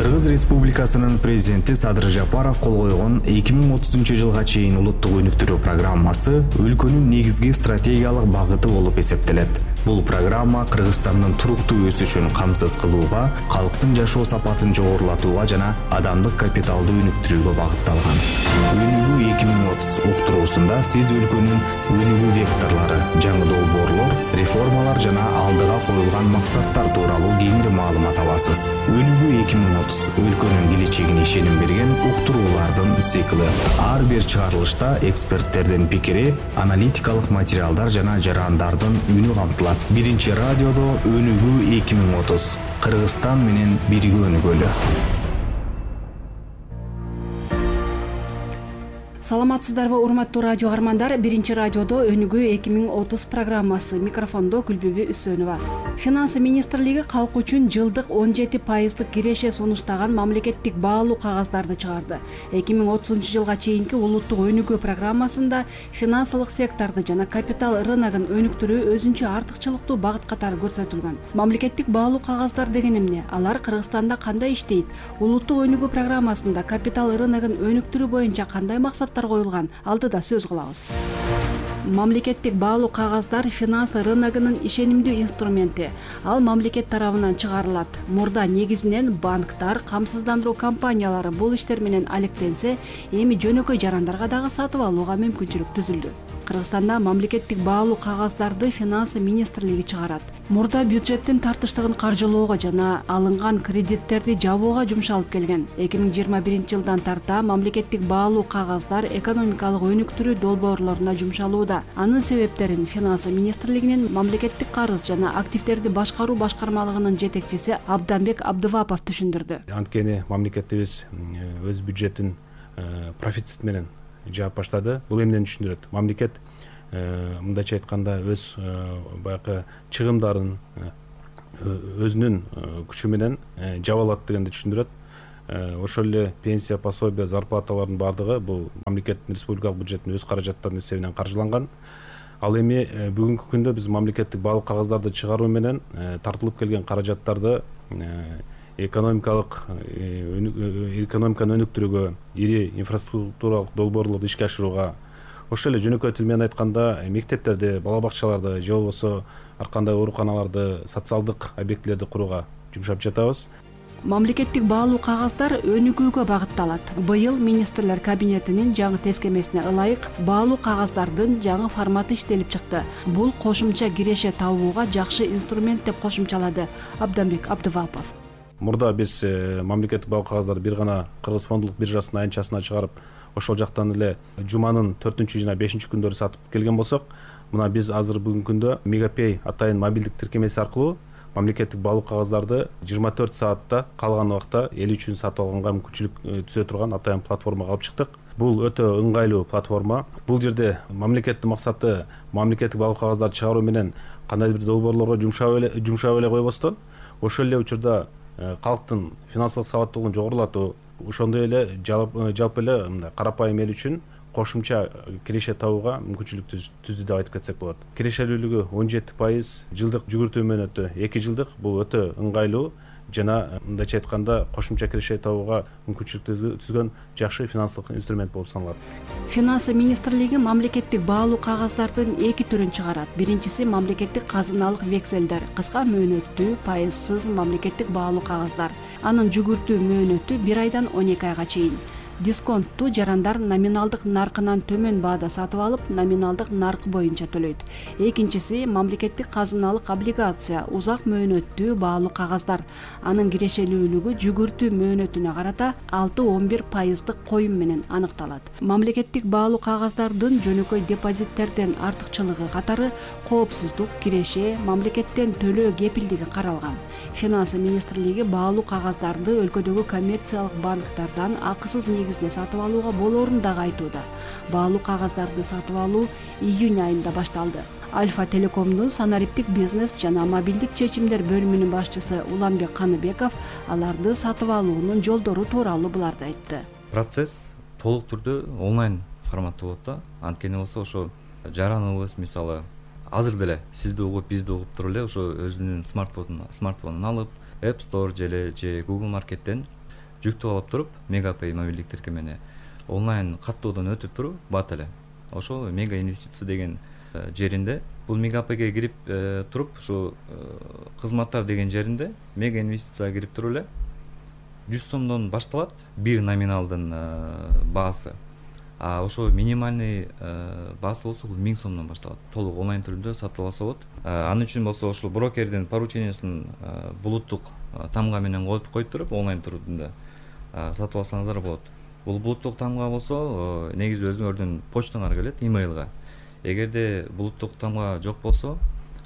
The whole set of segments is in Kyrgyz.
Кыргыз Республикасынын президенти Садыр Жапаров кол койгон 2030-жылга чейин улуттук өнүктүрүү программасы өлкөнүн негизги стратегиялык багыты болуп эсептелет. Бул программа Кыргызстандын туруктуу өсүшүн камсыз кылууга, калктын жашоо сапатын жогорулатууга жана адамдык капиталды өнүктүрүүгө багытталган. Өнүгүү 2030 уктуруусунда сиз өлкөнүн өнүгүү векторлору, жаңы долбоорлор, реформалар жана алдыга коюлган максаттар тууралуу кеңири маалымат аласыз. Өнүгүү 2030 өлкөнүн келечегине ишеним берген уктуруулардын цикли. Ар бир чыгарылышта эксперттердин пикири, аналитикалык материалдар жана жарандардын үнү камтылат. Биринчи радиодо Өнүгүү 2030. Кыргызстан менен бирге өнүгөлү. Саламатсыздарбы, урматтуу радио каармандар. Биринчи радиодо Өнүгүү 2030 программасы. Микрофондо Гүлбүбү Үсөнова. Финансы министрлиги калк үчүн жылдык 17% киреше сунуштаган мамлекеттик баалуу кагаздарды чыгарды. 2030-жылга чейинки улуттук өнүгүү программасында финансылык секторду жана капитал рыногун өнүктүрүү өзүнчө артыкчылыктуу багыт катары көрсөтүлгөн. Мамлекеттик баалуу кагаздар деген эмне? Алар Кыргызстанда кандай иштейт? Улуттук өнүгүү программасында капитал рыногун өнүктүрүү боюнча кандай максаттар коюлган? Алдыда сөз кылабыз. Мамлекеттик баалуу кагаздар финансы рыногунун ишенимдүү инструменти. Ал мамлекет тарабынан чыгарылат. Мурда негизинен банктар, камсыздандыруу компаниялары бул иштер менен алектенсе, эми жөнөкөй жарандарга дагы сатып алууга мүмкүнчүлүк түзүлдү. Кыргызстанда мамлекеттик баалуу кагаздарды финансы министрлиги чыгарат. Мурда бюджеттин тартыштыгын каржылоого жана алынган кредиттерди жабууга жумшалып келген. 2021-жылдан тарта мамлекеттик баалуу кагаздар экономикалык өнүктүрүү долбоорлоруна жумшалууда. Анын себептерин финансы министрлигинин мамлекеттик карыз жана активдерди башкаруу башкармалыгынын жетекчиси Абданбек Абдывапов түшүндүрдү. Анткени мамлекетибиз өз бюджетин профицит менен жаап баштады. Бул эмнени түшүндүрөт? Мамлекет мындайча айтканда өз баягы чыгымдарын өзүнүн күчү менен жаба алат дегенди түшүндүрөт. Ошол эле пенсия, пособия, зарплаталардын баардыгы бул мамлекеттин республикалык бюджеттин өз каражаттарынын эсебинен каржыланган. Ал эми бүгүнкү күндө биз мамлекеттик баалуу кагаздарды чыгаруу менен тартылып келген каражаттарды экономиканы өнүктүрүүгө, ири инфраструктуралык долбоорлорду ишке ашырууга, ошол эле жөнөкөй тил менен айтканда мектептерди, бала бакчаларды же болбосо ар кандай ооруканаларды, социалдык объектилерди курууга жумшап жатабыз. Мамлекеттик баалуу кагаздар өнүгүүгө багытталат. Быйыл министрлер кабинетинин жаңы тескемесине ылайык баалуу кагаздардын жаңы форматы иштелип чыкты. Бул кошумча киреше табууга жакшы инструмент деп кошумчалады Абданбек Абдывапов. Мурда биз мамлекеттик баалуу кагаздарды бир гана Кыргыз фондулук биржасынын айнчасына чыгарып, ошол жактан эле жуманын 4 жана 5 күндөрү сатып келген болсок, мына биз азыр бүгүнкү күндө Мегапей атайын мобилдик тиркемеси аркылуу мамлекеттик баалуу кагаздарды 24 саатта калган убакта эл үчүн сатып алганга мүмкүнчүлүк түзө турган атайын платформага алып чыктык. Бул өтө ыңгайлуу платформа. Бул жерде мамлекеттин максаты мамлекеттик баалуу кагаздарды чыгаруу менен кандайдыр бир долбоорлорго жумшап эле койбостон, ошол эле учурда калктын финансылык сабаттуулугун жогорулатуу, ошондой эле жалпы эле мындай карапайым эл үчүн кошумча киреше табууга мүмкүнчүлүк түздү деп айтып кетсек болот. Кирешелүүлүгү 17%, жылдык жүгүртүү мөөнөтү 2 жылдык. Бул өтө ыңгайлуу жана мындайча айтканда кошумча киреше табууга мүмкүнчүлүк түзгөн жакшы финансылык инструмент болуп саналат. Финансы министрлиги мамлекеттик баалуу кагаздардын 2 түрүн чыгарат. Биринчиси мамлекеттик казыналык векселдер, кыска мөөнөттүү, пайызсыз мамлекеттик баалуу кагаздар. Анын жүгүртүү мөөнөтү 1 айдан 12 айга чейин. Дисконтту жарандар номиналдык наркынан төмөн баада сатып алып, номиналдык наркы боюнча төлөйт. Экинчиси мамлекеттик казыналык облигация, узак мөөнөттүү баалуу кагаздар. Анын кирешелүүлүгү жүгүртүү мөөнөтүнө карата 6-11% коюм менен аныкталат. Мамлекеттик баалуу кагаздардын жөнөкөй депозиттерден артыкчылыгы катары коопсуздук, киреше, мамлекеттен төлөө кепилдиги каралган. Финансы министрлиги баалуу кагаздарды өлкөдөгү коммерциялык банктардан акысыз негизде сатып алууга болоорун дагы айтууда. Баалуу кагаздарды сатып алуу июнь айында башталды. Альфа Телекомдун санариптик бизнес жана мобилдик чечимдер бөлүмүнүн башчысы Уланбек Каныбеков аларды сатып алуунун жолдору тууралуу буларды айтты. Процесс толук түрдө онлайн форматта болот да. Анткени болсо ошо жараныбыз мисалы азыр деле сизди угуп, бизди угуп туруп эле ошо өзүнүн смартфонун алып App Store же Google Market'тен жүктөп алып туруп Мегапэй мобилдик тиркемени онлайн каттоодон өтүп туруп бат эле ошол мега инвестиция деген жеринде бул Мегапэйге кирип туруп ушу кызматтар деген жеринде мега инвестицияга кирип туруп эле 100 сомдон башталат бир номиналдын баасы. А ошо минимальный баасы болсо бул 1000 сомдон башталат. Толук онлайн түрүндө сатып алса болот. Анын үчүн болсо ошол брокердин поручениясын булуттук тамга менен коюп туруп онлайн түрүндө сатып алсаңыздар болот. Бул булуттук тамга болсо негизи өзүңөрдүн почтаңарга келет, имейлга. Эгерде булуттук тамга жок болсо,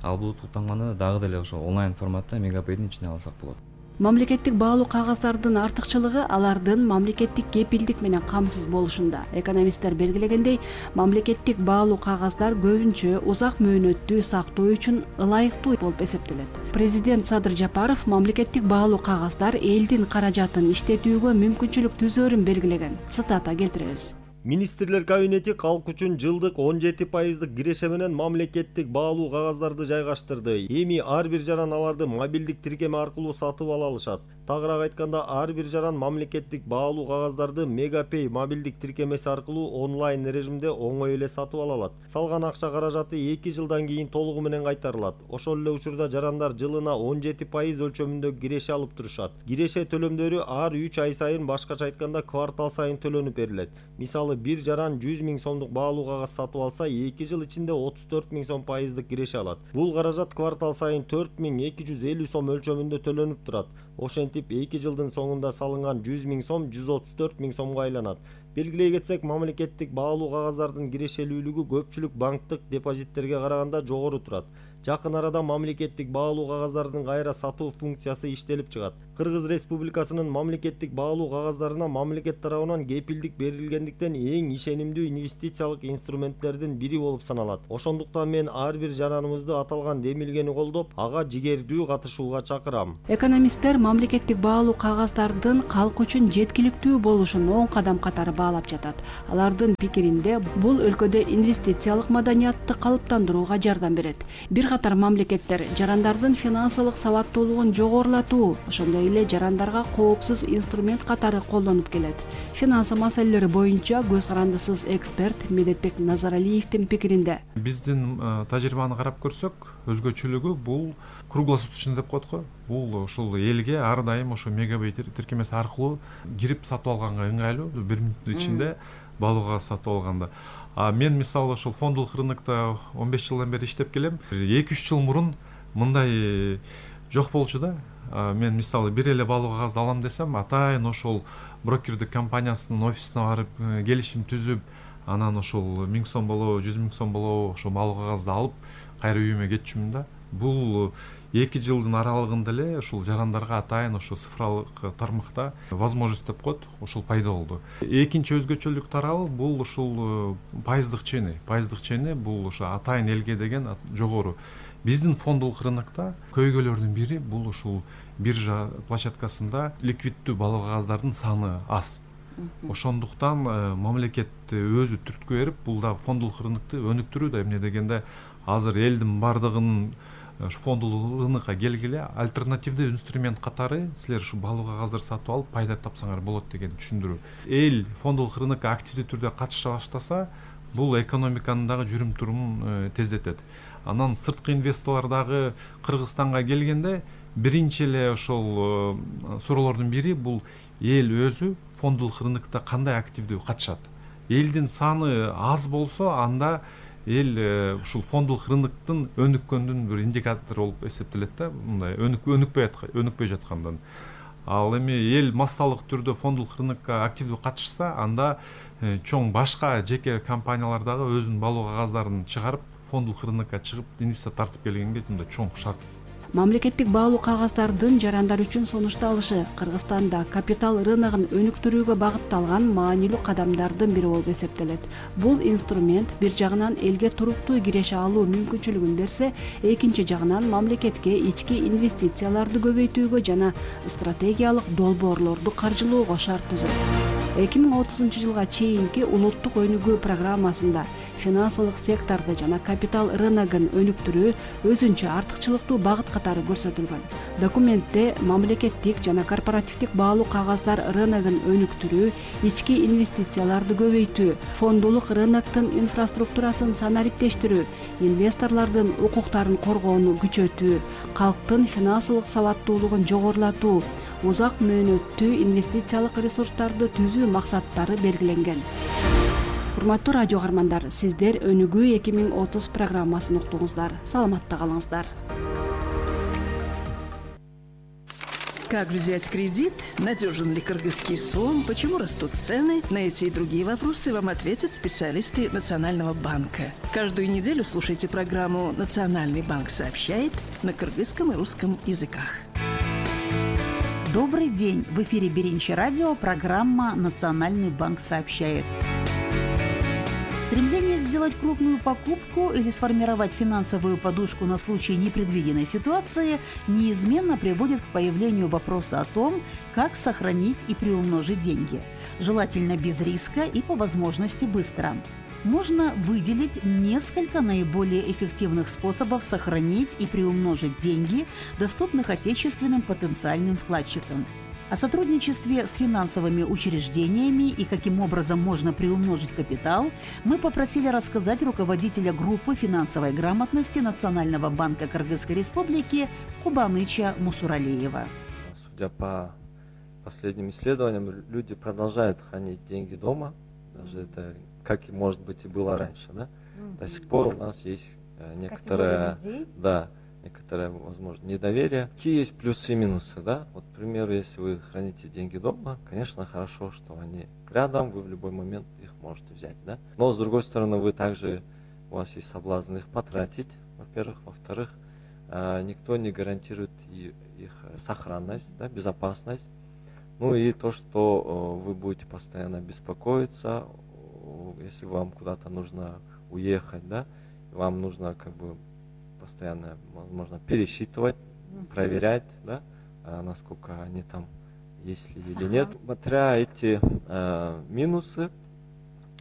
ал булуттук тамганы дагы деле ошо онлайн форматта Мегапэйдин ичине алсак болот. Мамлекеттик баалуу кагаздардын артыкчылыгы алардын мамлекеттик кепилдик менен камсыз болушунда. Экономисттер белгилегендей, мамлекеттик баалуу кагаздар көбүнчө узак мөөнөттүү сактоо үчүн ылайыктуу болуп эсептелет. Президент Садыр Жапаров мамлекеттик баалуу кагаздар элдин каражатын иштетүүгө мүмкүнчүлүк түзөөрүн белгилеген. Цитата келтиребиз. Министрлер кабинети калк үчүн жылдык 17% киреше менен мамлекеттик баалуу кагаздарды жайгаштырды. Эми ар бир жаран аларды мобилдик тиркеме аркылуу сатып ала алышат. Тагыраак айтканда, ар бир жаран мамлекеттик баалуу кагаздарды Мегапэй мобилдик тиркемеси аркылуу онлайн режимде оңой эле сатып ала алат. Салган акча каражаты 2 жылдан кийин толугу менен кайтарылат. Ошол эле учурда жарандар жылына 17% өлчөмүндө киреше алып турушат. Киреше төлөмдөрү ар 3 ай сайын, башкача айтканда квартал сайын төлөнүп берилет. Мисалы, бир жаран 100 000 сомдук баалуу кагаз сатып алса, 2 жыл ичинде 34 000 сом пайыздык киреше алат. Бул каражат квартал сайын 4250 сом өлчөмүндө төлөнүп турат. Ошентип 2 жылдын соңунда салынган 100 000 сом 134 000 сомго айланат. Белгилей кетсек, мамлекеттик баалуу кагаздардын кирешелүүлүгү көпчүлүк банктык депозиттерге караганда жогору турат. Жакын арада мамлекеттик баалуу кагаздардын кайра сатуу функциясы иштелип чыгат. Кыргыз Республикасынын мамлекеттик баалуу кагаздарына мамлекет тарабынан кепилдик берилгендиктен эң ишенимдүү инвестициялык инструменттердин бири болуп саналат. Ошондуктан мен ар бир жараныбызды аталган демилгени колдоп, ага жигердүү катышууга чакырам. Экономисттер мамлекеттик баалуу кагаздардын калк үчүн жеткиликтүү болушун оң кадам катары баалап жатат. Алардын пикиринде бул өлкөдө инвестициялык маданиятты калыптандырууга жардам берет. Бир катар мамлекеттер жарандардын финансылык сабаттуулугун жогорулатуу, ошондой эле жарандарга коопсуз инструмент катары колдонуп келет. Финансы маселелери боюнча көз карандысыз эксперт Медетбек Назаралиевдин пикиринде, биздин тажрыйбаны карап көрсөк, өзгөчөлүгү бул круглосуточный деп коет го. Бул ушул элге ар дайым ошо Мегапэй тиркемеси аркылуу кирип сатып алганга ыңгайлуу, 1 мүнөттүн ичинде баалуу кагаз сатып алганда. Мен мисалы ошол фондулук рынокто 15 жылдан бери иштеп келем. 2-3 жыл мурун мындай жок болчу да. Мен мисалы бир эле баалуу кагазды алам десем, атайын ошол брокердик компаниясынын офисине барып келишим түзүп, анан ошол 1000 сом болобу, 100 000 сом болобу, ошол баалуу кагазды алып кайра үйүмө кетчүмүн да. Бул 2 жылдын аралыгында эле ушул жарандарга атайын ошо цифралык тармакта возможность деп коет, ошол пайда болду. Экинчи өзгөчөлүк тарабы бул ушул пайыздык чени. Пайыздык чени бул ошо атайын элге деген жогору. Биздин фондулук рынокто көйгөйлөрдүн бири бул ушул биржа площадкасында ликвиддүү баалуу кагаздардын саны аз. Ошондуктан мамлекет өзү түрткү берип, бул да фондулук рынокту өнүктүрүүдө, эмне дегенде азыр элдин бардыгынын фондулук рынокко келгиле альтернативдүү инструмент катары силер ушу баалуу кагаздар сатып алып пайда тапсаңар болот деген түшүндүрүү. Эл фондулук рынокко активдүү түрдө катыша баштаса, бул экономиканын дагы жүрүм турумун тездетет. Анан сырткы инвесторлор дагы Кыргызстанга келгенде биринчи эле ошол суроолордун бири бул эл өзү фондулук рынокто кандай активдүү катышат. Элдин саны аз болсо, анда эл ушул фондулук рыноктун өнүккөндүн бир индикатору болуп эсептелет да, мындай өнүкпөй жаткандан. Ал эми эл массалык түрдө фондулук рынокко активдүү катышса, анда чоң башка жеке компаниялар дагы өзүнүн баалуу кагаздарын чыгарып фондулук рынокко чыгып инвестиция тартып келгенге мындай чоң шарт. Мамлекеттик баалуу кагаздардын жарандар үчүн сунушталышы Кыргызстанда капитал рыногун өнүктүрүүгө багытталган маанилүү кадамдардын бири болуп эсептелет. Бул инструмент бир жагынан элге туруктуу киреше алуу мүмкүнчүлүгүн берсе, экинчи жагынан мамлекетке ички инвестицияларды көбөйтүүгө жана стратегиялык долбоорлорду каржылоого шарт түзөт. 2030 жылга чейинки улуттук өнүгүү программасында финансылык секторду жана капитал рыногун өнүктүрүү өзүнчө артыкчылыктуу багыт катары көрсөтүлгөн. Документте мамлекеттик жана корпоративдик баалуу кагаздар рыногун өнүктүрүү, ички инвестицияларды көбөйтүү, фондулук рыноктун инфраструктурасын санариптештирүү, инвесторлордун укуктарын коргоону күчөтүү, калктын финансылык сабаттуулугун жогорулатуу, узак мөөнөттүү инвестициялык ресурстарды түзүү максаттары белгиленген. Урматтуу радио каармандар, сиздер Өнүгүү 2030 программасын уктуңуздар. Саламатта калыңыздар. Как взять кредит? Надежен ли кыргызский сом? Почему растут цены? На эти и другие вопросы вам ответят специалисты Национального банка. Каждую неделю слушайте программу «Национальный банк сообщает» на кыргызском и русском языках. Добрый день! В эфире Биринчи радио, программа «Национальный банк сообщает». Стремление сделать крупную покупку или сформировать финансовую подушку на случай непредвиденной ситуации неизменно приводит к появлению вопроса о том, как сохранить и приумножить деньги, желательно без риска и по возможности быстро. Можно выделить несколько наиболее эффективных способов сохранить и приумножить деньги, доступных отечественным потенциальным вкладчикам. О сотрудничестве с финансовыми учреждениями и каким образом можно приумножить капитал мы попросили рассказать руководителя группы финансовой грамотности Национального банка Кыргызской Республики Кубаныча Мусуралиева. Судя по последним исследованиям, люди продолжают хранить деньги дома, даже это, как и может быть и было раньше, да? До сих пор у нас есть некоторое, возможно, недоверие. Какие есть плюсы и минусы, да? Вот, к примеру, если вы храните деньги дома, конечно, хорошо, что они рядом, вы в любой момент их можете взять, да? Но, с другой стороны, у вас есть соблазн их потратить, во-первых. Во-вторых, никто не гарантирует их сохранность, да, безопасность. Ну и то, что вы будете постоянно беспокоиться, если вам куда-то нужно уехать, да, вам нужно постоянно, возможно, пересчитывать, проверять, да, насколько они там есть ли или нет. Смотря эти минусы,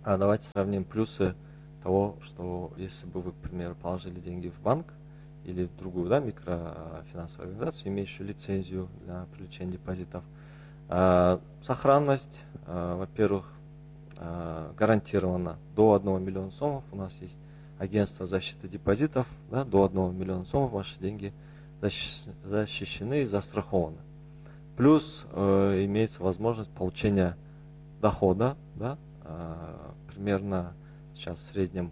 давайте сравним плюсы того, что если бы вы, к примеру, положили деньги в банк или в другую, да, микрофинансовую организацию, имеющую лицензию для привлечения депозитов, сохранность, во-первых, гарантирована до 1 миллиона сомов. У нас есть агентство защиты депозитов, да, до 1 миллиона сомов ваши деньги защищены и застрахованы. Плюс имеется возможность получения дохода, да, примерно сейчас в среднем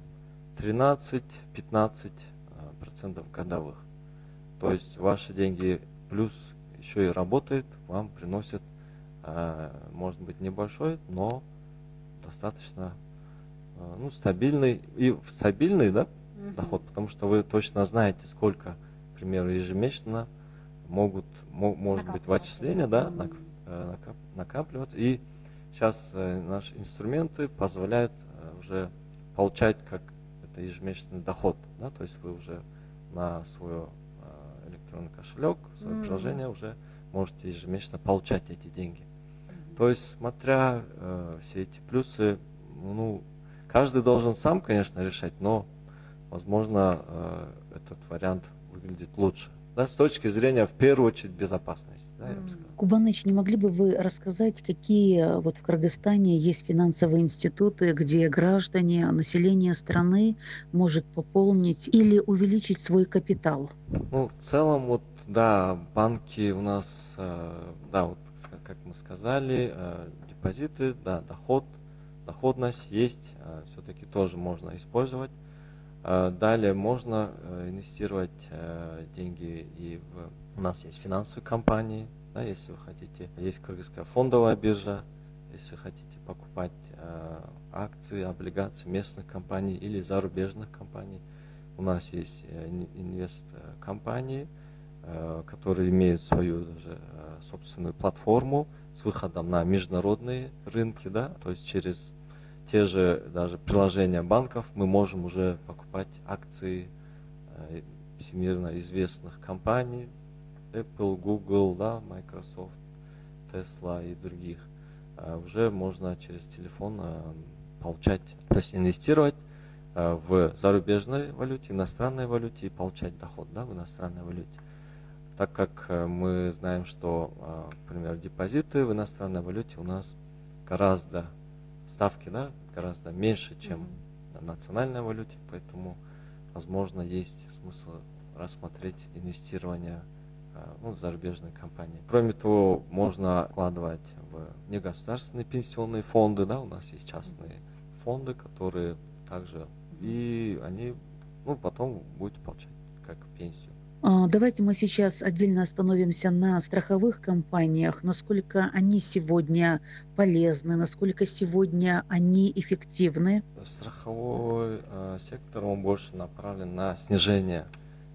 13-15% годовых. То есть ваши деньги плюс еще и работает, вам приносит, может быть, небольшой, но достаточно стабильный, да, доход, потому что вы точно знаете, сколько, к примеру, ежемесячно может быть в отчисления, да, накапливаться. И сейчас наши инструменты позволяют уже получать как это ежемесячный доход, да, то есть вы уже на свой электронный кошелек, свое приложение уже можете ежемесячно получать эти деньги. То есть, смотря все эти плюсы, каждый должен сам, конечно, решать, но, возможно, этот вариант выглядит лучше. Да, с точки зрения, в первую очередь, безопасности. Да, я бы сказал. Кубаныч, не могли бы вы рассказать, какие в Кыргызстане есть финансовые институты, где граждане, население страны может пополнить или увеличить свой капитал? В целом, банки у нас, как мы сказали, депозиты, да, доходность есть, все-таки тоже можно использовать. Далее можно инвестировать деньги у нас есть финансовые компании, да, если вы хотите, есть Кыргызская фондовая биржа, если хотите покупать акции, облигации местных компаний или зарубежных компаний. У нас есть инвест-компании, которые имеют свою даже собственную платформу с выходом на международные рынки, да, то есть через те же даже приложения банков мы можем уже покупать акции всемирно известных компаний, Apple, Google, да, Microsoft, Tesla и других. Уже можно через телефон получать, то есть инвестировать в зарубежной валюте, иностранной валюте и получать доход, да, в иностранной валюте. Так как мы знаем, что, например, депозиты в иностранной валюте у нас гораздо, ставки, да, гораздо меньше, чем на национальной валюте, поэтому, возможно, есть смысл рассмотреть инвестирование в зарубежные компании. Кроме того, можно вкладывать в негосударственные пенсионные фонды, да, у нас есть частные фонды, которые также, и они, потом будете получать как пенсию. Давайте мы сейчас отдельно остановимся на страховых компаниях, насколько они сегодня полезны, насколько сегодня они эффективны. Страховой сектор, он больше направлен на снижение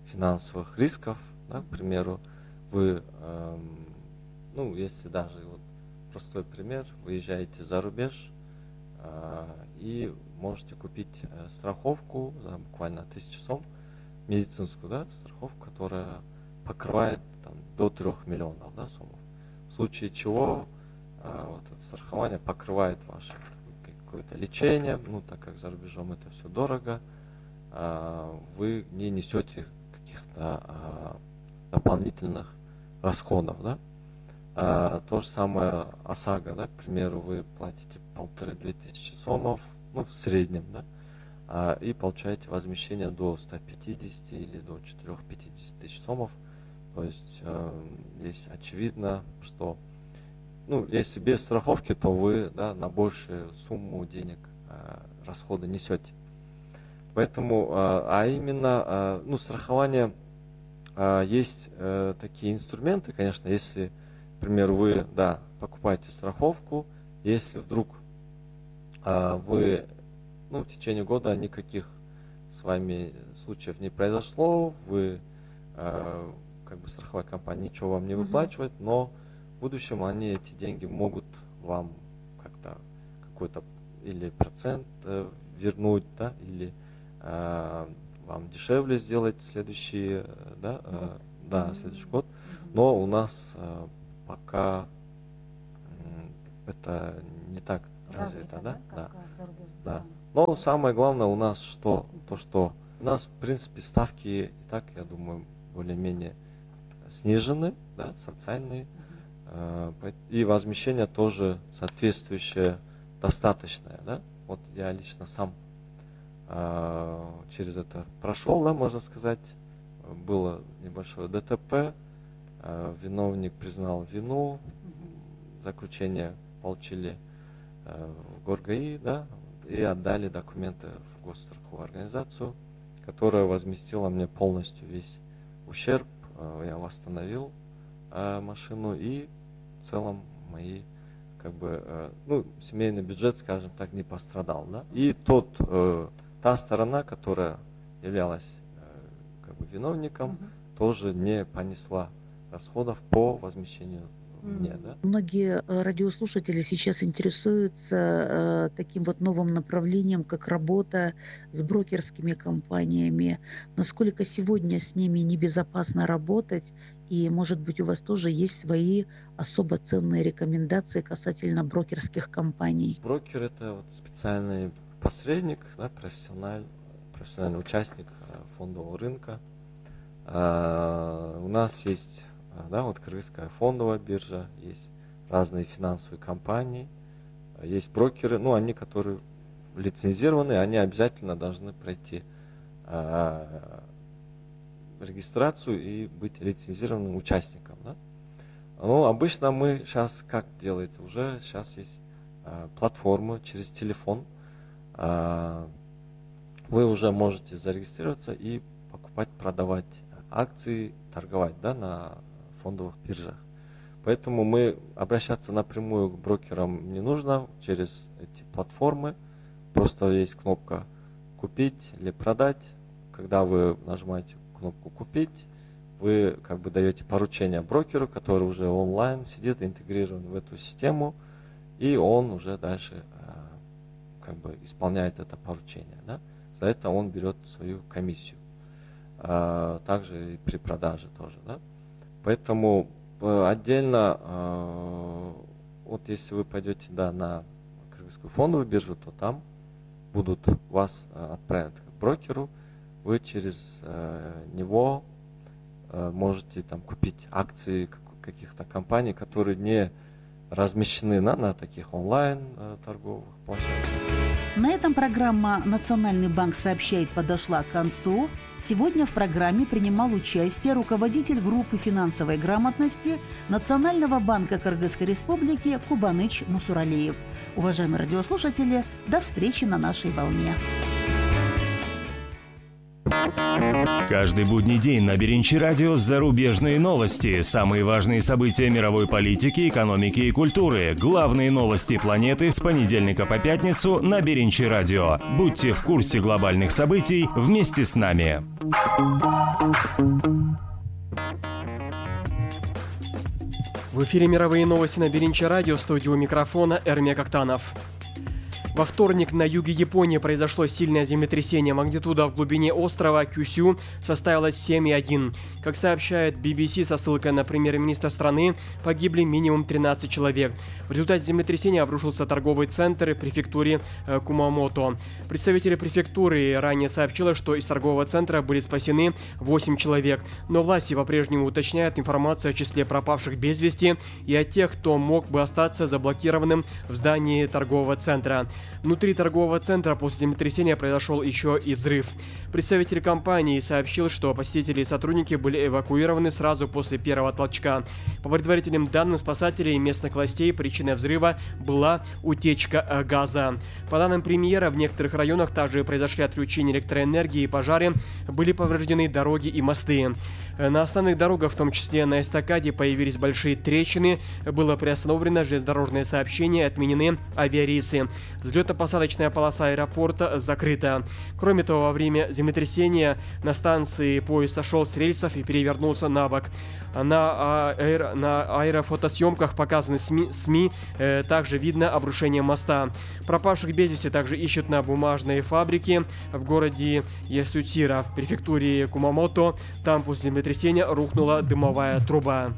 финансовых рисков, да, к примеру, вы, если даже простой пример, выезжаете за рубеж и можете купить страховку за буквально 1000 сом, медицинскую, да, страховку, которая покрывает до 3 миллионов, да, сомов. В случае чего это страхование покрывает ваше какое-то лечение, так как за рубежом это все дорого, вы не несете каких-то дополнительных расходов, да. То же самое ОСАГО, да, к примеру, вы платите 1500-2000 сомов, в среднем, да, и получаете возмещение до 150 или до 450 тысяч сомов. То есть здесь очевидно, что если без страховки, то вы, да, на большую сумму денег расходы несете. Поэтому, именно страхование, есть такие инструменты, конечно, если, например, вы, да, покупаете страховку, если вдруг вы в течение года никаких с вами случаев не произошло, вы, страховая компания ничего вам не выплачивает, но в будущем они эти деньги могут вам как-то какой-то или процент вернуть, да, или вам дешевле сделать следующий год. Но у нас пока это не так развито, да. Но самое главное у нас что у нас, в принципе, ставки и так, я думаю, более-менее снижены, да, социальные, и возмещение тоже соответствующее, достаточное, да. Вот я лично сам через это прошел, да, можно сказать, было небольшое ДТП, виновник признал вину, заключение получили в ГОР-ГАИ, да, и отдали документы в госстраховую организацию, которая возместила мне полностью весь ущерб. Я восстановил машину, и в целом мои семейный бюджет, скажем так, не пострадал, да. И та сторона, которая являлась виновником, тоже не понесла расходов по возмещению мне, да. Многие радиослушатели сейчас интересуются таким новым направлением, как работа с брокерскими компаниями. Насколько сегодня с ними небезопасно работать? И, может быть, у вас тоже есть свои особо ценные рекомендации касательно брокерских компаний? Брокер — это специальный посредник, да, профессиональный участник фондового рынка. У нас есть, да, Кыргызская фондовая биржа, есть разные финансовые компании, есть брокеры, они, которые лицензированы, они обязательно должны пройти регистрацию и быть лицензированным участником, да. Обычно мы сейчас, как делается, уже сейчас есть платформы через телефон, вы уже можете зарегистрироваться и покупать, продавать акции, торговать, да, на фондовых биржах. Поэтому мы обращаться напрямую к брокерам не нужно через эти платформы. Просто есть кнопка «Купить» или «Продать». Когда вы нажимаете кнопку «Купить», вы даете поручение брокеру, который уже онлайн сидит, интегрирован в эту систему, и он уже дальше исполняет это поручение, да. За это он берет свою комиссию. Также и при продаже тоже, да. Поэтому отдельно, если вы пойдете, да, на Кыргызскую фондовую биржу, то там будут вас отправят к брокеру, вы через него можете там купить акции каких-то компаний, которые не размещены на таких онлайн торговых площадках. На этом программа «Национальный банк сообщает» подошла к концу. Сегодня в программе принимал участие руководитель группы финансовой грамотности Национального банка Кыргызской Республики Кубаныч Мусуралиев. Уважаемые радиослушатели, до встречи на нашей волне. Каждый будний день на Беринчи радио зарубежные новости, самые важные события мировой политики, экономики и культуры, главные новости планеты с понедельника по пятницу на Беринчи радио. Будьте в курсе глобальных событий вместе с нами. В эфире мировые новости на Беринчи радио, в студии у микрофона Эрмек Актанов. Во вторник на юге Японии произошло сильное землетрясение. Магнитуда в глубине острова Кюсю составила 7,1. Как сообщает BBC со ссылкой на премьер-министра страны, погибли минимум 13 человек. В результате землетрясения обрушился торговый центр в префектуре Кумамото. Представители префектуры ранее сообщили, что из торгового центра были спасены 8 человек. Но власти по-прежнему уточняют информацию о числе пропавших без вести и о тех, кто мог бы остаться заблокированным в здании торгового центра. Внутри торгового центра после землетрясения произошел еще и взрыв. Представитель компании сообщил, что посетители и сотрудники были эвакуированы сразу после первого толчка. По предварительным данным спасателей и местных властей, причиной взрыва была утечка газа. По данным премьера, в некоторых районах также произошли отключения электроэнергии и пожары, были повреждены дороги и мосты. На основных дорогах, в том числе на эстакаде, появились большие трещины, было приостановлено железнодорожное сообщение, отменены авиарейсы. Взлетно-посадочная полоса аэропорта закрыта. Кроме того, во время землетрясения на станции поезд сошел с рельсов и перевернулся на бок. На аэрофотосъемках, показанных СМИ, также видно обрушение моста. Пропавших без вести также ищут на бумажной фабрике в городе Ясутира, в префектуре Кумамото. Там после землетрясения рухнула дымовая труба.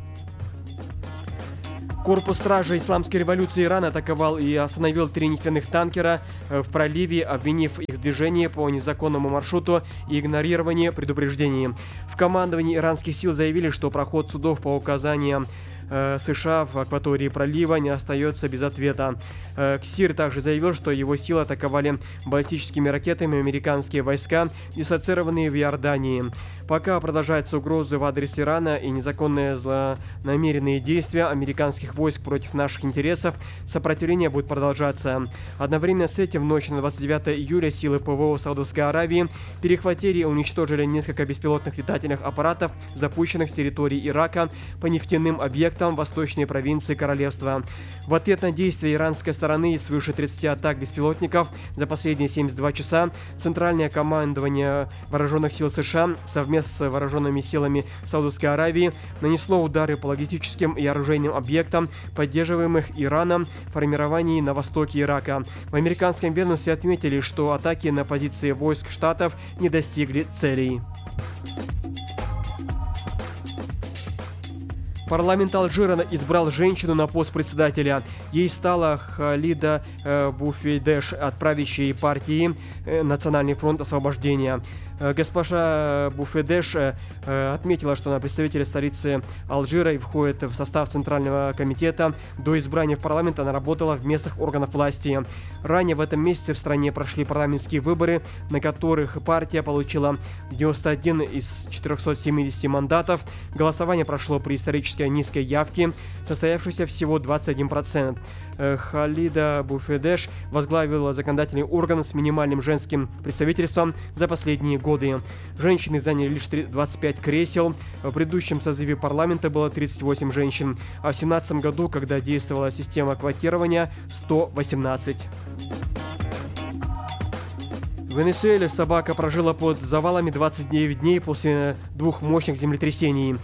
Корпус стражи исламской революции Ирана атаковал и остановил 3 нефтяных танкера в проливе, обвинив их в движении по незаконному маршруту и игнорировании предупреждений. В командовании иранских сил заявили, что проход судов по указаниям США в акватории пролива не остается без ответа. КСИР также заявил, что его силы атаковали баллистическими ракетами американские войска, дислоцированные в Иордании. Пока продолжаются угрозы в адрес Ирана и незаконные злонамеренные действия американских войск против наших интересов, сопротивление будет продолжаться. Одновременно с этим в ночь на 29 июля силы ПВО Саудовской Аравии перехватили и уничтожили несколько беспилотных летательных аппаратов, запущенных с территории Ирака по нефтяным объектам восточной провинции королевства. В ответ на действия иранской стороны и свыше 30 атак беспилотников за последние 72 часа Центральное командование Вооруженных сил США совместно с вооруженными силами Саудовской Аравии нанесло удары по логистическим и оружейным объектам, поддерживаемых Ираном в формировании на востоке Ирака. В американском ведомстве отметили, что атаки на позиции войск штатов не достигли целей. Парламент Алжира избрал женщину на пост председателя. Ей стала Халида Буфейдеш от правящей партии «Национальный фронт освобождения». Госпожа Буфейдеш отметила, что она представитель столицы Алжира и входит в состав Центрального комитета. До избрания в парламент она работала в местных органах власти. Ранее в этом месяце в стране прошли парламентские выборы, на которых партия получила 91 из 470 мандатов. Голосование прошло при исторически низкой явке, состоявшейся всего 21%. Халида Буфейдеш возглавила законодательный орган с минимальным женским представительством за последние годы. Женщины заняли лишь 25 кресел. В предыдущем созыве парламента было 38 женщин, а в 2017 году, когда действовала система квотирования, 118. В Венесуэле собака прожила под завалами 29 дней после 2 мощных землетрясений.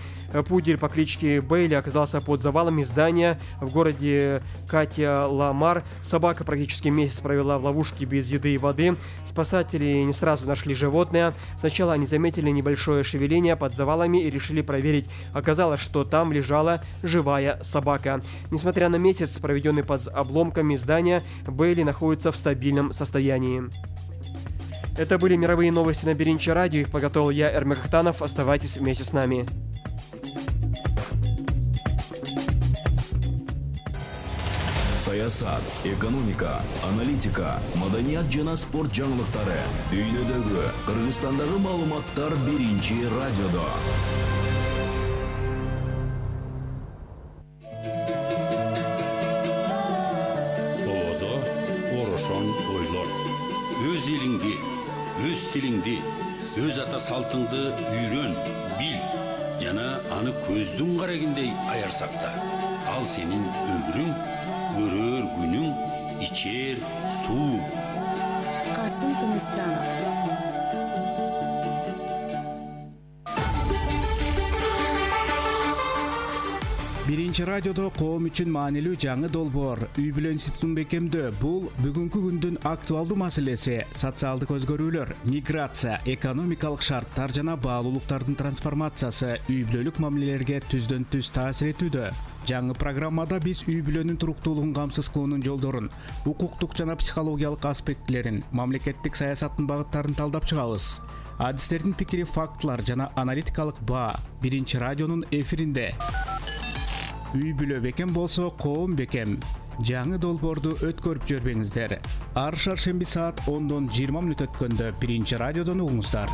Пудель по кличке Бейли оказался под завалами здания в городе Катя-Ла-Мар. Собака практически месяц провела в ловушке без еды и воды. Спасатели не сразу нашли животное. Сначала они заметили небольшое шевеление под завалами и решили проверить. Оказалось, что там лежала живая собака. Несмотря на месяц, проведенный под обломками здания, Бейли находится в стабильном состоянии. Это были мировые новости на Биринчи радио. Их подготовил я, Эрмек Актанов. Оставайтесь вместе с нами. Саясат, экономика, аналитика, маданият жана спорт жаңылыктары, дүйнөдөгү, Кыргызстандагы маалыматтар Биринчи радиодо. Болодо орошон ойлор. Өз элиңди, өз тилиңди, өз ата салтыңды үйрөн, бил жана аны көздүн карагендей аяр сакта. Ал сенин өмүрүң, көрөр күнүң, ичер суу. Касым Тыныстанов. Биринчи радиодо коом үчүн маанилүү жаңы долбоор үй бүлө институтун бекемдөө. Бул бүгүнкү күндүн актуалдуу маселеси. Социалдык өзгөрүүлөр, миграция, экономикалык шарттар жана баалуулуктардын трансформациясы үй бүлөлүк мамилелерге түздөн түз таасир этүүдө. Жаңы программада биз үй бүлөнүн туруктуулугун камсыз кылуунун жолдорун, укуктук жана психологиялык аспектилерин, мамлекеттик саясаттын багыттарын талдап чыгабыз. Адистердин пикири, фактылар жана аналитикалык баа Биринчи радионун эфиринде. Үй бүлө бекем болсо, коом бекем. Жаңы долбоорду өткөрүп жүрбөңүздөр. Ар шаршемби саат 10:20 өткөндө Биринчи радиодон угуңуздар.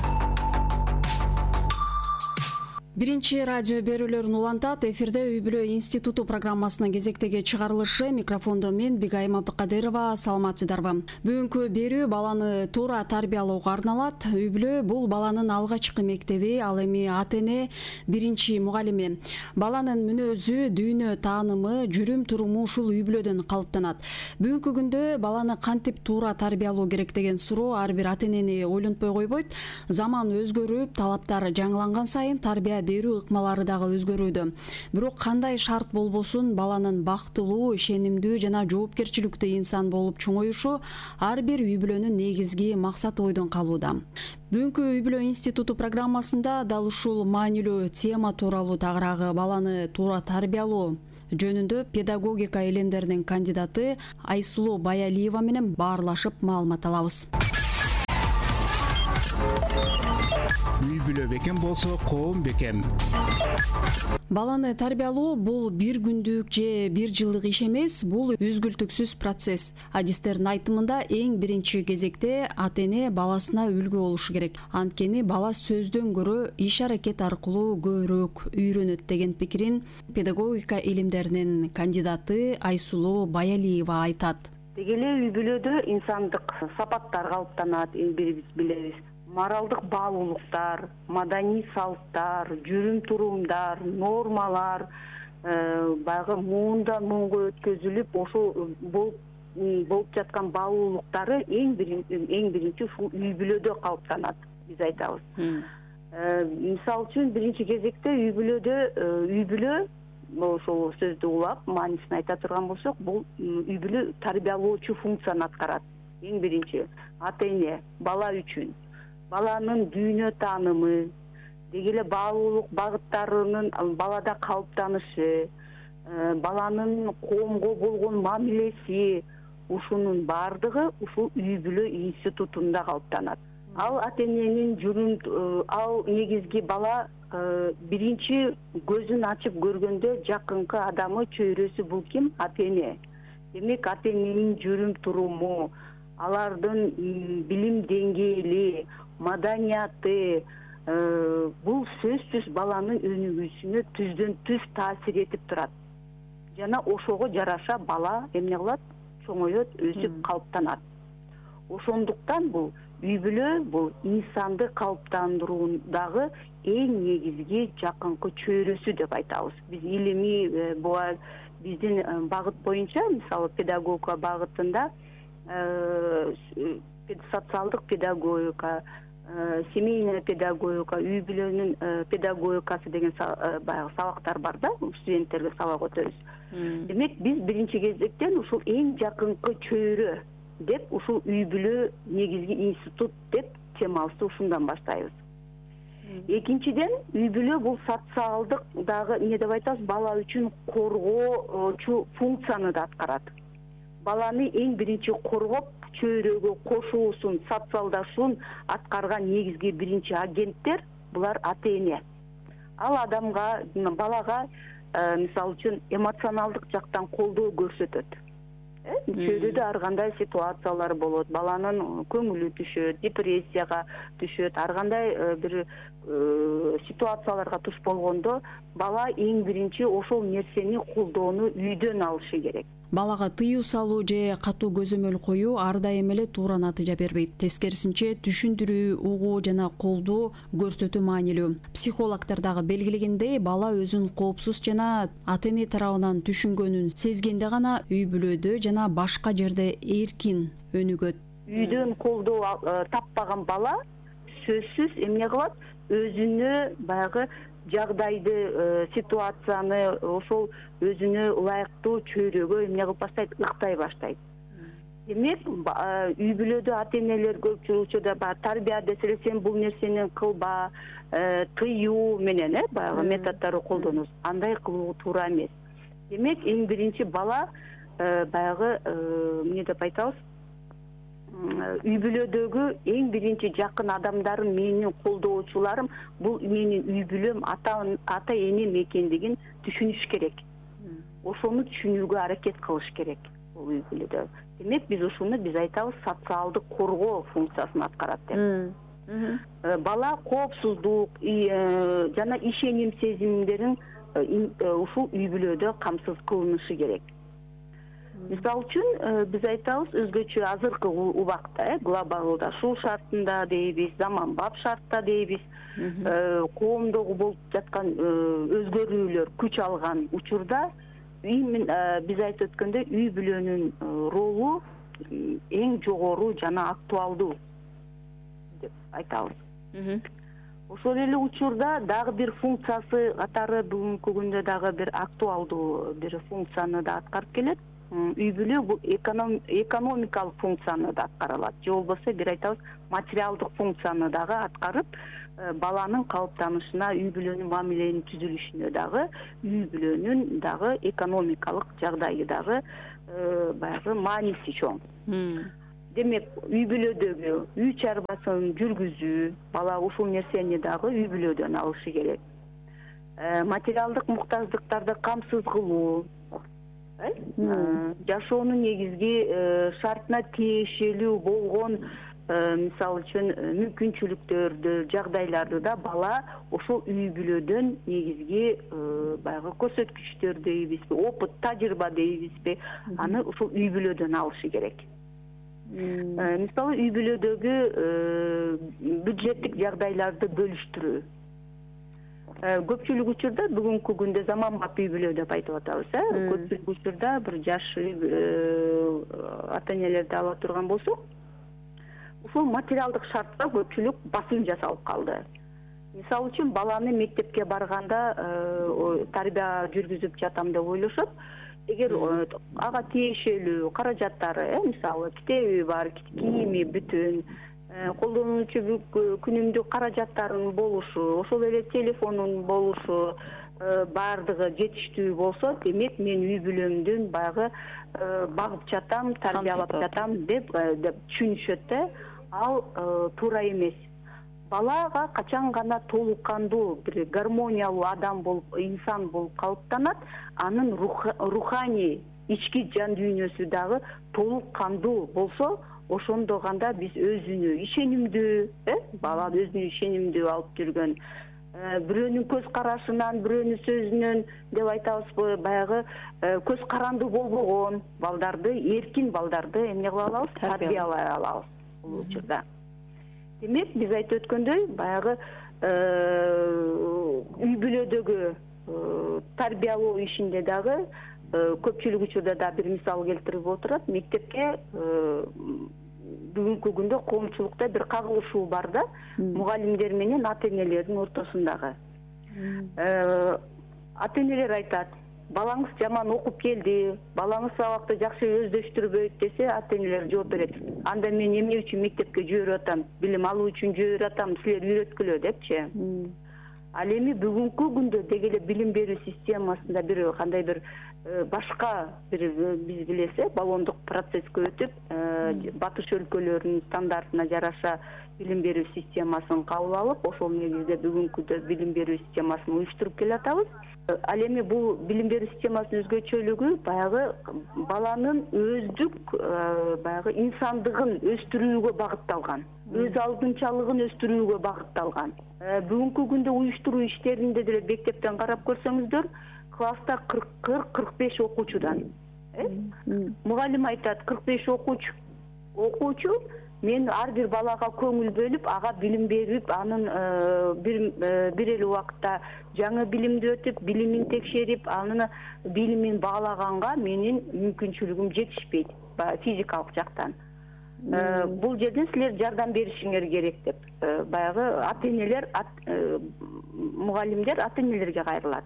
Биринчи радио берүүлөрүн улантат. Эфирде үй бүлө институту программасынын кезектеги чыгарылышы. Микрофондо мен Бигайым Абдыкадырова. Саламатсыздарбы? Бүгүнкү берүү баланы туура тарбиялоого арналат. Үй бүлө бул баланын алгачкы мектеби, ал эми ата-эне биринчи мугалими. Баланын мүнөзү, дүйнө таанымы, жүрүм туруму ушул үй бүлөдөн калыптанат. Бүгүнкү күндө баланы кантип туура тарбиялоо керек деген суроо ар бир ата-энени ойлонтпой койбойт. Заман өзгөрүп, талаптар жаңыланган сайын тарбия берүү ыкмалары дагы өзгөрүүдө. Бирок кандай шарт болбосун баланын бактылуу, ишенимдүү жана жоопкерчиликтүү инсан болуп чоңоюшу ар бир үй бүлөнүн негизги максаты ойдон калууда. Бүгүнкү үй бүлө институту программасында дал ушул маанилүү тема тууралуу тагыраагы баланы туура тарбиялоо жөнүндө педагогика илимдеринин кандидаты Айсулуу Баялиева менен баарлашып маалымат алабыз. Үй бүлө бекем болсо, коом бекем. Баланы тарбиялоо бул бир күндүк же бир жылдык иш эмес, бул үзгүлтүксүз процесс. Адистердин айтымында эң биринчи кезекте ата-эне баласына үлгү болушу керек. Анткени бала сөздөн көрө иш аракет аркылуу көбүрөөк үйрөнөт деген пикирин педагогика илимдеринин кандидаты Айсулуу Баялиева айтат. Деги эле үй бүлөдө инсандык сапаттар калыптанат, бирибиз билебиз. Моралдык баалуулуктар, маданий салттар, жүрүм турумдар, нормалар баягы муундан муунга өткөзүлүп, ошол болуп жаткан баалуулуктары эң биринчи ушул үй бүлөдө калыптанат, биз айтабыз. Мисалы үчүн биринчи кезекте үй бүлө ошол сөздү улап, маанисин айта турган болсок, бул үй бүлө тарбиялоочу функцияны аткарат. Эң биринчи ата-эне бала үчүн баланын дүйнө таанымы, деги эле баалуулук багыттарынын балада калыптанышы, баланын коомго болгон мамилеси, ушунун баардыгы ушул үй бүлө институтунда калыптанат. Ал ата-эненин ал негизги бала биринчи көзүн ачып көргөндө жакынкы адамы, чөйрөсү бул ким? Ата-эне. Демек ата-эненин жүрүм туруму, алардын билим деңгээли, маданияты бул сөзсүз баланын өнүгүүсүнө түздөн түз таасир этип турат. Жана ошого жараша бала эмне кылат? Чоңоет, өсүп калыптанат. Ошондуктан бул үй бүлө бул инсанды калыптандыруудагы эң негизги жакынкы чөйрөсү деп айтабыз. Биз илимий биздин багыт боюнча, мисалы педагогика багытында социалдык педагогика, семейная педагогика, үй бүлөнүн педагогикасы деген баягы сабактар бар да, студенттерге сабак өтөбүз. Демек биз биринчи кезектен ушул эң жакынкы чөйрө деп ушул үй бүлө негизги институт деп темабызды ушундан баштайбыз. Экинчиден, үй бүлө бул социалдык дагы эмне деп айтабыз, бала үчүн коргоочу функцияны да аткарат. Баланы эң биринчи коргоп, чөйрөгө кошуусун, социалдашууун аткарган негизги биринчи агенттер булар ата-эне. Ал адамга, балага мисалы үчүн эмоционалдык жактан колдоо көрсөтөт. Чөйрөдө ар кандай ситуациялар болот, баланын көңүлү түшөт, депрессияга түшөт, ар кандай бир ситуацияларга туш болгондо бала эң биринчи ошол нерсени колдоону үйдөн алышы керек. Балага тыюу салуу же катуу көзөмөл коюу ар дайым эле туура натыйжа бербейт. Тескерисинче, түшүндүрүү, угуу жана колдоо көрсөтүү маанилүү. Психологдор дагы белгилегендей, бала өзүн коопсуз жана ата-эне тарабынан түшүнгөнүн сезгенде гана үй бүлөдө жана башка жерде эркин өнүгөт. Үйдөн колдоо таппаган бала сөзсүз эмне кылат? Өзүнө баягы жагдайды, ситуацияны ошол өзүнө ылайыктуу чөйрөгө эмне кылып баштайт, ыктай баштайт. Демек, үй бүлөдө ата-энелер көпчүлүк учурда тарбия десе сен бул нерсени кылба, тыюу менен баягы методдорду колдонобуз. Андай кылуу туура эмес. Демек, эң биринчи бала баягы эмне деп айтабыз? Үй бүлөдөгү эң биринчи жакын адамдарым, менин колдоочуларым, бул менин үй бүлөм, ата-энем экендигин түшүнүш керек. Ошону түшүнүүгө аракет кылыш керек бул үй бүлөдө. Демек, биз ушуну айтабыз социалдык коргоо функциясын аткарат деп. Бала коопсуздук жана ишеним сезимдерин ушул үй бүлөдө камсыз кылынышы керек. Мисалы үчүн биз айтабыз өзгөчө азыркы убакта глобалдашуу шартында дейбиз, заманбап шартта дейбиз, коомдогу болуп жаткан өзгөрүүлөр күч алган учурда биз айтып өткөндөй үй бүлөнүн ролу эң жогору жана актуалдуу деп айтабыз. Ошол эле учурда дагы бир функциясы катары бүгүнкү күндө дагы бир актуалдуу бир функцияны да аткарып келет. Үй бүлө бул экономикалык функцияны да аткара алат. Же болбосо бир айтабыз материалдык функцияны дагы аткарып, баланын калыптанышына, үй бүлөнүн мамиленин түзүлүшүнө дагы, үй бүлөнүн дагы экономикалык жагдайы дагы баягы мааниси чоң. Демек, үй бүлөдөгү үй чарбасын жүргүзүү, бала ушул нерсени дагы үй бүлөдөн алышы керек. Материалдык муктаждыктарды камсыз кылуу, жашоонун негизги шартына тиешелүү болгон мисалы үчүн мүмкүнчүлүктөрдү, жагдайларды да бала ошол үй бүлөдөн негизги баягы көрсөткүчтөр дейбизби, опыт, тажрыйба дейбизби, аны ушул үй бүлөдөн алышы керек. Мисалы үй бүлөдөгү бюджеттик жагдайларды бөлүштүрүү. Көпчүлүк учурда бүгүнкү күндө заманбап үй бүлө деп айтып атабыз, көпчүлүк учурда бир жаш ата-энелерди ала турган болсок, ушул материалдык шартка көпчүлүк басым жасалып калды. Мисалы үчүн баланы мектепке барганда тарбия жүргүзүп жатам деп ойлошот. Эгер ага тиешелүү каражаттары, мисалы китеби бар, кийими бүтүн, колдонуучу күнүмдүк каражаттарынын болушу, ошол эле телефонун болушу баардыгы жетиштүү болсо, демек мен үй бүлөмдүн баягы багып жатам, тарбиялап жатам деп түшүнүшөт да. Ал туура эмес. Балага качан гана толук кандуу бир гармониялуу адам болуп, инсан болуп калыптанат, анын руханий ички жан дүйнөсү дагы толук кандуу болсо, ошондо гана биз өзүнө ишенимдүү, бала өзүнө ишенимдүү алып жүргөн, бирөөнүн көз карашынан, бирөөнүн сөзүнөн деп айтабызбы, баягы көз карандуу болбогон балдарды, эркин балдарды эмне кыла алабыз? Тарбиялай алабыз бул учурда. Демек, биз айтып өткөндөй, баягы үй бүлөдөгү тарбиялоо ишинде дагы көпчүлүк учурда да бир мисал келтирип отурат. Мектепке бүгүнкү күндө коомчулукта бир кагылышуу бар да, мугалимдер менен ата энелердин ортосундагы. Ата энелер айтат, балаңыз жаман окуп келди, балаңыз сабакты жакшы өздөштүрбөйт десе, ата энелер жооп берет. Анда мен эмне үчүн мектепке жиберип атам, билим алуу үчүн жиберип атам, силер үйрөткүлө депчи. Ал эми бүгүнкү күндө деги эле билим берүү системасында бир кандай бир башка бир биз билесе баллондук процесске өтүп, батыш өлкөлөрүнүн стандартына жараша билим берүү системасын кабыл алып, ошол негизде бүгүнкү билим берүү системасын уюштуруп келатабыз. Ал эми бул билим берүү системасынын өзгөчөлүгү баягы баланын өздүк баягы инсандыгын өстүрүүгө багытталган, өз алдынчалыгын өстүрүүгө багытталган. Бүгүнкү күндө уюштуруу иштеринде деле мектептен карап көрсөңүздөр, класста 40-45 окуучудан. Мугалим айтат, 45 окуучу, мен ар бир балага көңүл бөлүп, ага билим берип, анын бир эле убакытта жаңы билимди өтүп, билимин текшерип, анын билимин баалаганга менин мүмкүнчүлүгүм жетишпейт, физикалык жактан. Бул жерден силер жардам беришиңер керек деп, баягы ата энелер, мугалимдер ата энелерге кайрылат.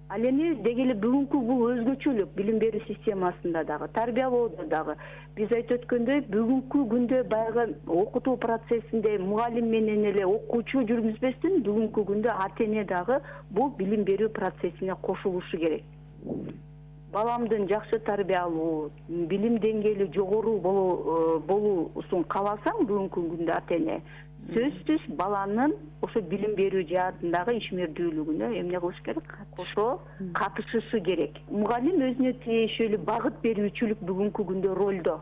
Ал эми деги эле бүгүнкү бул өзгөчөлүк билим берүү системасында дагы, тарбиялоодо дагы биз айтып өткөндөй, бүгүнкү күндө баягы окутуу процессинде мугалим менен эле окуучу жүргүзбөстөн, бүгүнкү күндө ата эне дагы бул билим берүү процессине кошулушу керек. Баламдын жакшы тарбиялуу, билим деңгээли жогору болуусун кааласаң, бүгүнкү күндө ата эне сөзсүз баланын ошо билим берүү жаатындагы ишмердүүлүгүнө эмне кылыш керек? Кошо катышышы керек. Мугалим өзүнө тиешелүү багыт берүүчүлүк бүгүнкү күндө ролдо.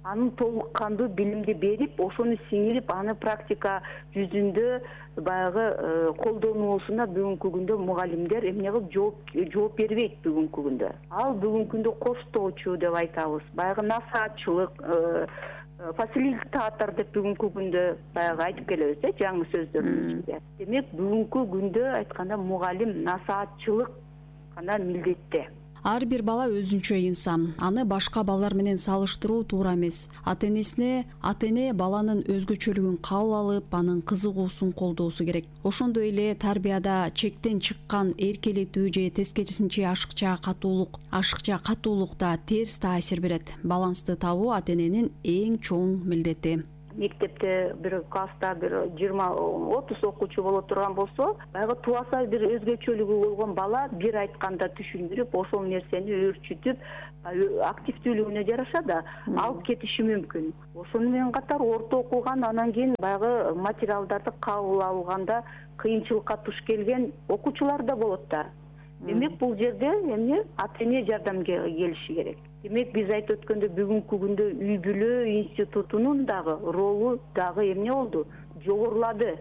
Анын толук кандуу билимди берип, ошону сиңирип, аны практика жүзүндө баягы колдонуусуна бүгүнкү күндө мугалимдер эмне кылып жооп бербейт бүгүнкү күндө. Ал бүгүнкү күндө коштоочу деп айтабыз. Баягы насаатчылык, фасилитатор деп бүгүнкү күндө баягы айтып келебиз, жаңы сөздөрдүн ичинде. Демек, бүгүнкү күндө айтканда мугалим насаатчылык гана милдетте. Ар бир бала өзүнчө инсан. Аны башка балдар менен салыштыруу туура эмес. Ата эне баланын өзгөчөлүгүн кабыл алып, анын кызыгуусун колдоосу керек. Ошондой эле тарбияда чектен чыккан эркелетүү же тескерисинче ашыкча катуулук да терс таасир берет. Балансты табуу ата эненин эң чоң милдети. Мектепте бир класста бир 20-30 окуучу боло турган болсо, баягы туаса бир өзгөчөлүгү болгон бала бир айтканда түшүндүрүп, ошол нерсени өөрчүтүп, активдүүлүгүнө жараша да алып кетиши мүмкүн. Ошону менен катар орто окуган, анан кийин баягы материалдарды кабыл алганда кыйынчылыкка туш келген окуучулар да болот да. Демек, бул жерде эмне ата эне жардамга келиши керек. Демек, биз айтып өткөндө бүгүнкү күндө үй бүлө институтунун дагы ролу дагы эмне болду? Жогорулады.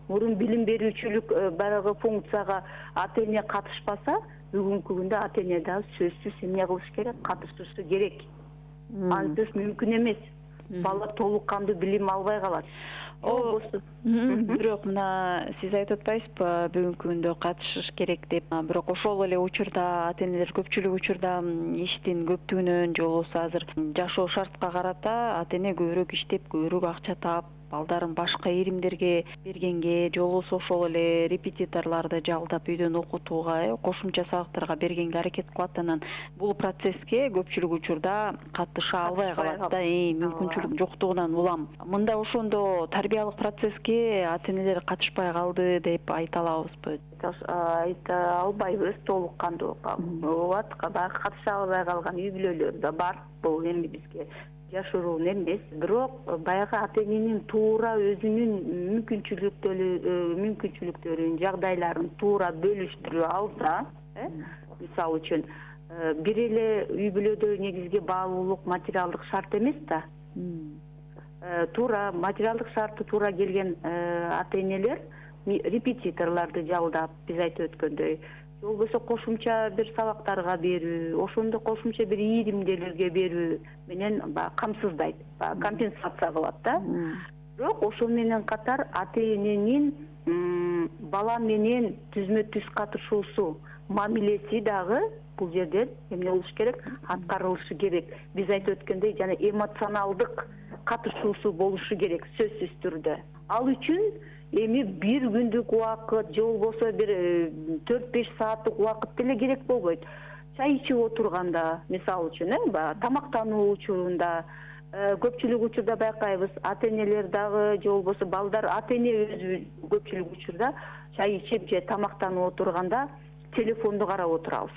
Мурун билим берүүчүлүк баягы функцияга ата эне катышпаса, бүгүнкү күндө ата эне дагы сөзсүз эмне кылыш керек? Катышышы керек. Ансыз мүмкүн эмес. Бала толук кандуу билим албай калат. Бирок мына сиз айтып атпайсызбы, бүгүнкү күндө катышыш керек деп. Бирок ошол эле учурда ата энелер көпчүлүк учурда иштин көптүгүнөн же болбосо азыр жашоо шартка карата ата эне көбүрөөк иштеп, көбүрөөк акча таап, балдарын башка иримдерге бергенге, же болбосо ошол эле репетиторлорду жалдап үйдөн окутууга, кошумча сабактарга бергенге аракет кылат. Анан бул процесске көпчүлүк учурда катыша албай калат да, мүмкүнчүлүк жоктугунан улам. Мында ошондо тарбиялык процесске ата энелер катышпай калды деп айта алабызбы? Айта албайбыз, толук кандуу болот. Катыша албай калган үй бүлөлөр да бар. Бул эми бизге жашыруун эмес, бирок баягы ата эненин туура өзүнүн мүмкүнчүлүктөрүн, жагдайларын туура бөлүштүрө алса, мисалы үчүн бир эле үй бүлөдө негизги баалуулук материалдык шарт эмес да. Туура материалдык шарты туура келген ата энелер репетиторлорду жалдап, биз айтып өткөндөй, болбосо кошумча бир сабактарга берүү, ошондо кошумча бир ийримдерге берүү менен камсыздайт, компенсация кылат да. Бирок ошол менен катар ата эненин бала менен түзмө-түз катышуусу, мамилеси дагы бул жерден эмне болуш керек? Аткарылышы керек. Биз айтып өткөндөй, жана эмоционалдык катышуусу болушу керек сөзсүз түрдө. Ал үчүн эми бир күндүк убакыт же болбосо бир 4-5 сааттык убакыт деле керек болбойт. Чай ичип отурганда, мисалы үчүн, тамактануу учурунда, көпчүлүк учурда байкайбыз, ата-энелер дагы же болбосо балдар, ата-эне өзү көпчүлүк учурда чай ичип же тамактанып отурганда телефонду карап отурабыз.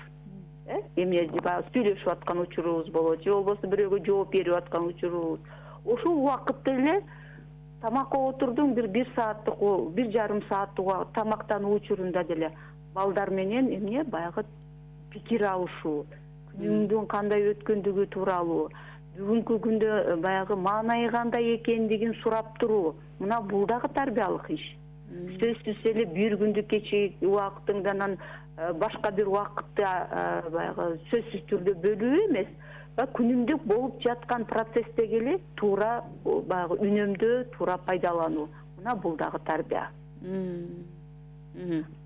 Эме сүйлөшүп аткан учурубуз болот, же болбосо бирөөгө жооп берип аткан учурубуз. Ошол убакытта эле тамакка отурдуң бир сааттык, 1,5 сааттык тамактануу учурунда деле балдар менен эмне баягы пикир алышуу, күнүңдүн кандай өткөндүгү тууралуу, бүгүнкү күндө баягы маанайы кандай экендигин сурап туруу. Мына бул дагы тарбиялык иш. Сөзсүз эле бир күндүк кечээ убактыңдан башка бир убакытты баягы сөзсүз түрдө бөлүү эмес, күнүмдүк болуп жаткан процесстеги эле туура баягы үнөмдөө, туура пайдалануу. Мына бул дагы тарбия.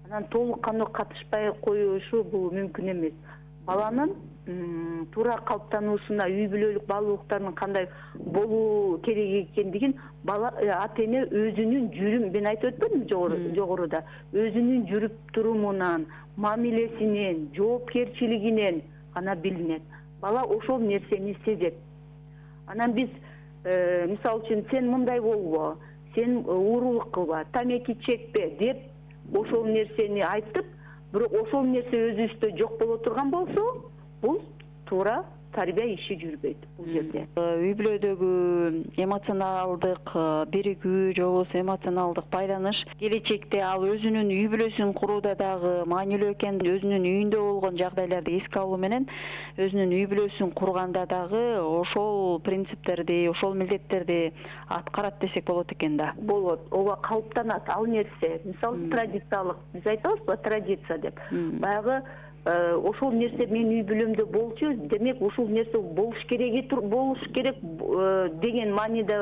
Анан толук кандуу катышпай коюшу бул мүмкүн эмес. Баланын туура калыптануусуна үй бүлөлүк баалуулуктардын кандай болуу керек экендигин ата-эне өзүнүн жүрүм, мен айтып өтпөдүмбү жогоруда, өзүнүн жүрүп турумунан, мамилесинен, жоопкерчилигинен гана билинет. Бала ошол нерсени сезет. Анан биз мисалы үчүн сен мындай болбо, сен уурулук кылба, тамеки чекпе деп ошол нерсени айтып, бирок ошол нерсе өзүбүздө жок боло турган болсо, бул туура тарбия иши жүрбөйт бул жерде. Үй бүлөдөгү эмоционалдык биригүү же болбосо эмоционалдык байланыш келечекте ал өзүнүн үй бүлөсүн курууда дагы маанилүү экен. Өзүнүн үйүндө болгон жагдайларды эске алуу менен өзүнүн үй бүлөсүн курганда дагы ошол принциптерди, ошол милдеттерди аткарат десек болот экен да. Болот. Ооба калыптанат ал нерсе. Мисалы традициялык, биз айтабызбы, традиция деп. Баягы ошол нерсе менин үй бүлөмдө болчу, демек ушул нерсе болуш керек деген мааниде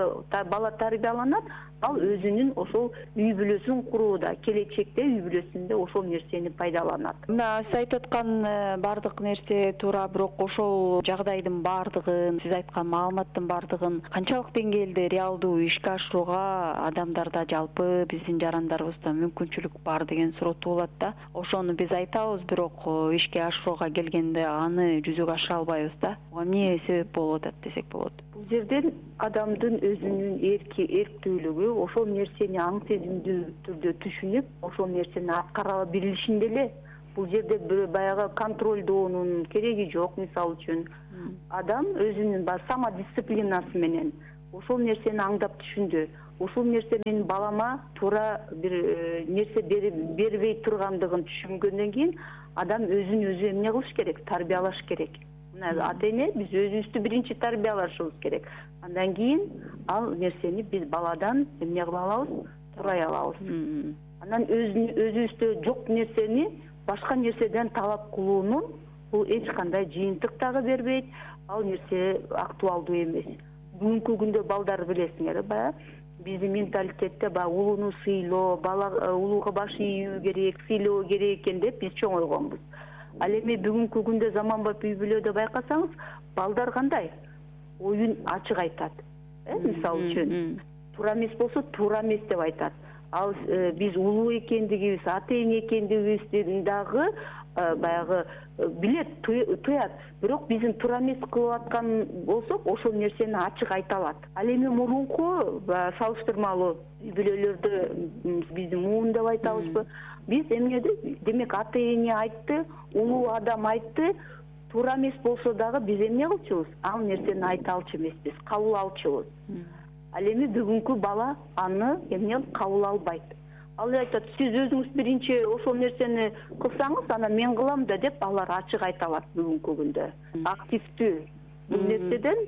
бала тарбияланат. Ал өзүнүн ошол үй бүлөсүн курууда, келечекте үй бүлөсүндө ошол нерсени пайдаланат. Мына сиз айтып аткан бардык нерсе туура, бирок ошол жагдайдын бардыгын, сиз айткан маалыматтын бардыгын канчалык деңгээлде реалдуу ишке ашырууга адамдарда, жалпы биздин жарандарыбызда мүмкүнчүлүк бар деген суроо туулат да. Ошону биз айтабыз, бирок ишке ашырууга келгенде аны жүзөгө ашыра албайбыз да. Эмне себеп болуп атат десек болот? Бул жерден адамдын өзүнүн эрктүүлүгү, ошол нерсени аң сезимдүү түрдө түшүнүп, ошол нерсени аткара билишинде эле. Бул жерде баягы контролдоонун кереги жок. Мисалы үчүн, адам өзүнүн самодисциплинасы менен ошол нерсени аңдап түшүндү. Ушул нерсе менин балама туура бир нерсе бербей тургандыгын түшүнгөндөн кийин адам өзүн өзү эмне кылыш керек? Тарбиялаш керек. Ата-эне биз өзүбүздү биринчи тарбиялашыбыз керек. Андан кийин ал нерсени биз баладан эмне кыла алабыз? Сурай алабыз. Анан өзүбүздө жок нерсени башка нерседен талап кылуунун бул эч кандай жыйынтык дагы бербейт. Ал нерсе актуалдуу эмес. Бүгүнкү күндө балдар билесиңер, баягы биздин менталитетте улууну сыйлоо, бала улууга баш ийүү керек, сыйлоо керек экен деп биз чоңойгонбуз. Ал эми бүгүнкү күндө заманбап үй бүлөдө байкасаңыз, балдар кандай? Оюн ачык айтат. Мисалы үчүн, туура эмес болсо туура эмес деп айтат. Ал биз улуу экендигибиз, ата-эне экендигибизди дагы баягы билет, туят. Бирок биздин туура эмес кылып аткан болсок, ошол нерсени ачык айта алат. Ал эми мурунку салыштырмалуу үй бүлөлөрдө биздин муун деп айтабызбы? Биз эмнеди? Демек ата-эне айтты, улуу адам айтты, туура эмес болсо дагы биз эмне кылчубуз? Ал нерсени айта алчу эмеспиз, кабыл алчубуз. Ал эми бүгүнкү бала аны эмне кабыл албайт. Ал айтат, сиз өзүңүз биринчи ошол нерсени кылсаңыз, анан мен кылам да деп алар ачык айта алат бүгүнкү күндө. Активдүү. Бул нерседен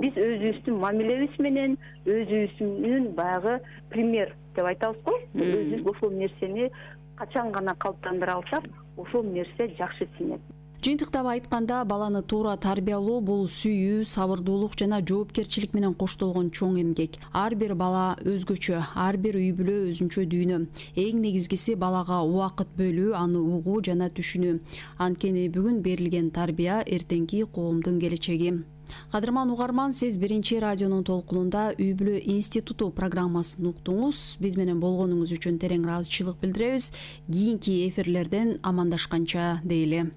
биз өзүбүздүн мамилебиз менен, өзүбүздүн баягы пример деп айтабыз го. Өзүбүз ошол нерсени качан гана калыптандыра алсак, ошол нерсе жакшы сиңет. Жыйынтыктап айтканда, баланы туура тарбиялоо бул сүйүү, сабырдуулук жана жоопкерчилик менен коштолгон чоң эмгек. Ар бир бала өзгөчө, ар бир үй бүлө өзүнчө дүйнө. Эң негизгиси балага убакыт бөлүү, аны угуу жана түшүнүү. Анткени бүгүн берилген тарбия эртеңки коомдун келечеги. Кадырман угарман, сиз Биринчи радионун толкунунда Үй бүлө институту программасын уктуңуз. Биз менен болгонуңуз үчүн терең ыраазычылык билдиребиз. Кийинки эфирлерден амандашканча дейли.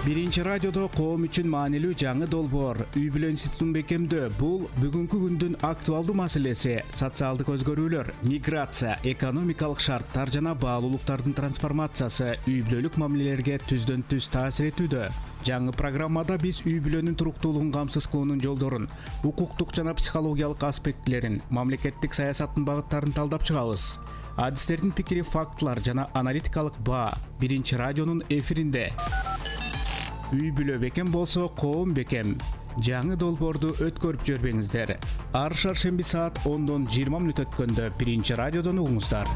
Биринчи радиодо коом үчүн маанилүү жаңы долбоор Үй бүлө институтун бекемдөө. Бул бүгүнкү күндүн актуалдуу маселеси. Социалдык өзгөрүүлөр, миграция, экономикалык шарттар жана баалуулуктардын трансформациясы үй бүлөлүк мамилелерге түздөн түз таасир этүүдө. Жаңы программада биз үй бүлөнүн туруктуулугун камсыз кылуунун жолдорун, укуктук жана психологиялык аспектилерин, мамлекеттик саясаттын багыттарын талдап чыгабыз. Адистердин пикири, фактылар жана аналитикалык баа Биринчи радионун эфиринде. Үй бүлө бекем болсо, коом бекем. Жаңы долбоорду өткөрүп жибербеңиздер. Ар шаршемби саат 10:20 өткөндө Биринчи радиодон угуңуздар.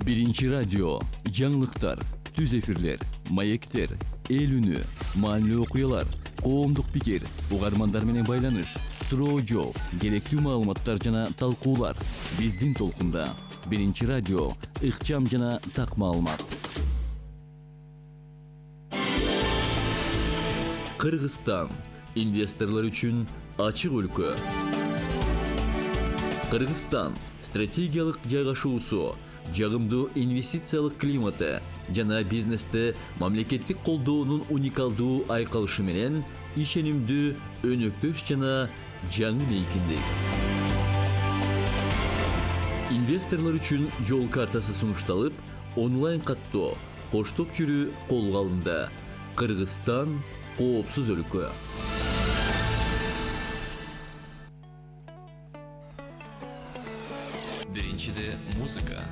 Биринчи радио, жаңылыктар, түз эфирлер, маектер, эл үнү, маанилүү окуялар, коомдук пикир, угармандар менен байланыш, суроо жооп, керектүү маалыматтар жана талкуулар. Биздин толкунда Биринчи радио, ыкчам жана так маалымат. Кыргызстан инвесторлор үчүн ачык өлкө. Кыргызстан стратегиялык жайгашуусу, жагымдуу инвестициялык климаты жана бизнесте мамлекеттик колдоонун уникалдуу айкалышы менен ишенимдүү, өнөктөш жана жаңы мейкиндик. Инвесторлор үчүн жол картасы сунушталып, онлайн каттоо, коштоп жүрүү колго алынды. Кыргызстан коопсуз өлкө. Биринчиде музыка,